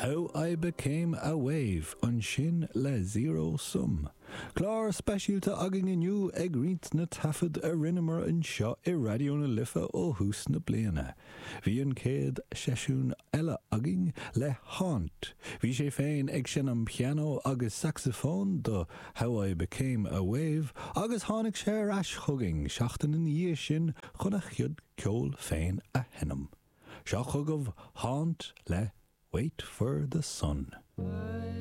How I Became a Wave ansin le Zero Sum. Clár speisialta againn inniu ag roinnt na taifead a rinneamar anseo i Raidió na Life ó thús na bliana. Bhí an chéad seisiún eile againn le Haunt. Bhí sé féin ag seinm pianó agus sacsafóin do How I Became a Wave agus tháinig sé ar ais chugainn seachtain ina dhiaidh sin chun a chuid ceoil féin a sheinm. Seo chugaibh Haunt le Wait for the Sun.